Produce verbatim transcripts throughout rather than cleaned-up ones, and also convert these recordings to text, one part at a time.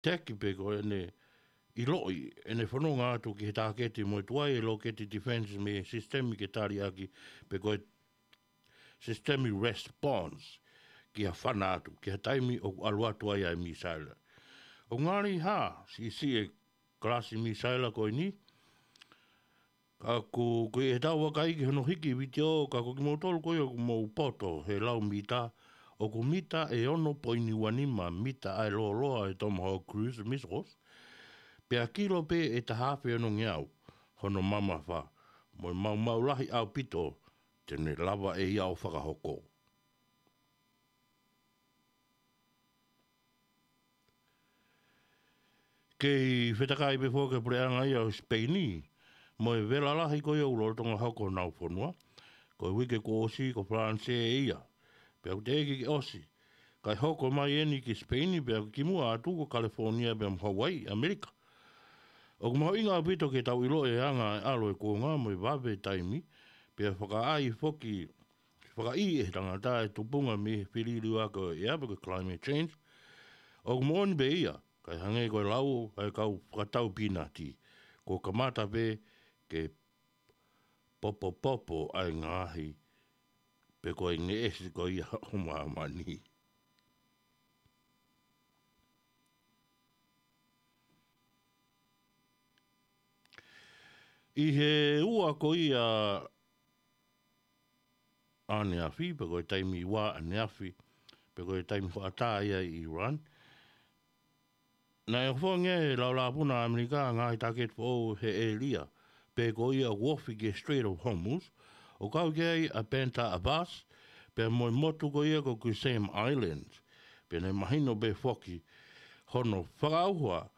teki pe ko ʻene ʻiloʻi ʻene fononga atu ki he tāketi mo e tuai e lōketi defense mei he sisitemi ke taliʻaki pe ko e sisitemi response ki ha fana atu, ki ha taimi ʻoku ʻalu atu ai ʻa e misaila. ʻOku ngali hā, siʻisiʻi e kalasi misaila ko eni, ka ʻoku, ko e tau vakai ki hono hiki vitiō, ka ko kimoutolu ko ia ʻoku mou poto he lau mita, ʻoku mita ʻe ono poini ua nima mita ʻa e lōloa e Tomahawk cruise missiles, pea kilo pē ʻe taha afe onongeau hono mamafa, mo e maumau lahi ʻaupito te ne lava ʻe ia ʻo fakahoko. Kei fetakai pē foki e puleʻanga ia ʻo Sipeini mo e vela lahi ko ia ʻoku lolotonga hoko honau fonua. Ko e uike kuo ʻosi ko Falanisē ia, pea ʻoku teʻeki ke ʻosi, kae hoko mai eni ki Sipeini pea kimuʻa atu ko Kalefōnia pea mo Hauaiʻi, ʻAmelika. ʻOku mahuʻinga ʻaupito ke tau ʻilo e anga e ʻalu e kuonga mo e vave e taimi, pea fakaʻai foki, fakaʻī ʻe he tangata e tupunga mei he filiuliuaki ʻo e ʻea pe ko e climate change. ʻOku moʻoni pē ia, kae hangē ko e lau ʻa e kau fakatau pīnati, kuo kamata pē ke popopopo ʻa e ngaahi pe ko e ngeʻesi ko ia ʻo māmani. ʻI he ua ko ia ʻaneafi, pe ko e taimi ua ʻaneafi, pe ko e taimi hoʻatā ia ʻi Iran, naʻe ʻofongi e laulāpuna ʻAmelika ngaahi tāketi foʻou he ʻēlia, pe ko ia ʻoku ofi ki he Strait of Hormuz, ʻo kau ki ai ʻa Bandar Abbas, pea mo e motu ko ia ko Qesem Islands, pea naʻe mahino pē foki hono fakaʻauha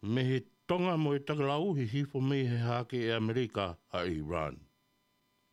mei he tonga mo e tokelau hihifo mei he hahake ʻe ʻAmelika ʻa Iran.